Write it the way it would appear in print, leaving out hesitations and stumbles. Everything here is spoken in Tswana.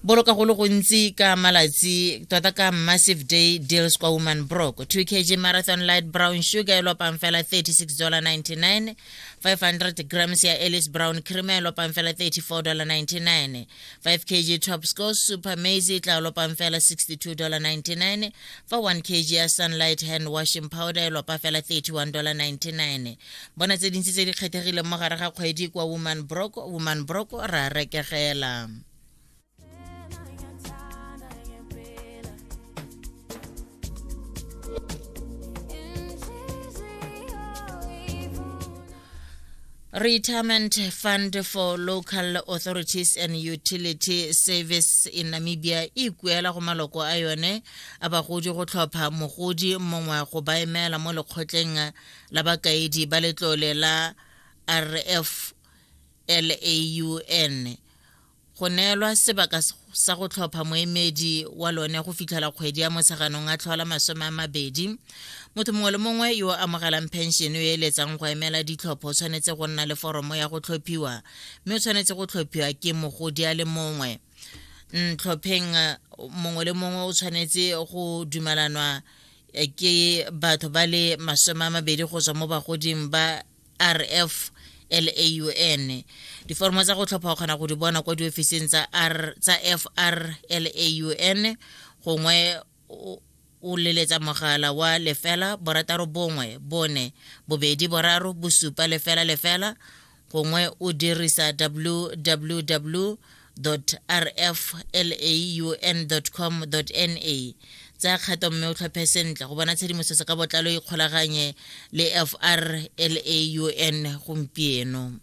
Boloka go le gontsi ka malatsi tota ka Massive Day Deals kwa Woman Brock. 2 kg Marathon Light Brown Sugar e lopang fela $36.99, 500 grams ya Ellis Brown Creamer e lopang fela $34.99, 5 kg Top Score Super Maize e tla lopang fela $62.99, fa 1 kg ya Sunlight Hand Washing Powder e lopa fela $31.99. Bona tse dintsi tse di kgethegileng mo gare ga kgwedi kwa Woman Brock. Woman Brock ra rekegela. Retirement Fund for Local Authorities and Utility Service in Namibia e ikuela go maloko a yone a bagodi go tlhopha mogodi mongwe go ba emela mo lekgotleng la bakaedi ba letlole la RF LAUN. Go neelwa sebaka sa go tlhopha moemedi wa lone go fitlhela kgwedi ya Motsheganong a tlhola 20. Motho mongwe le mongwe yo o amogelang pension yo eletsang go emela ditlhopho o tshwanetse go nna le foromo ya go tlhophiwa mme o tshwanetse go tlhophiwa ke mogodi a le mongwe. Ntlhopheng mongwe le mongwe o tshwanetse go dumelanwa ke batho ba le 20 go tswa mo bagoding ba RF LAUN. Diforomo tsa go tlhopha o kgona go di bona kwa diofising tsa R tsa FRLAUN gongwe o leletsa mogala wa 0 6 4 2 3 7 0 0 gongwe o dirisa www rflaun.com.na. Tsaya kgato mme o tlhophe sentle. Go bona tshedimosetso ka botlalo ikgolaganye le FRLAUN gompieno.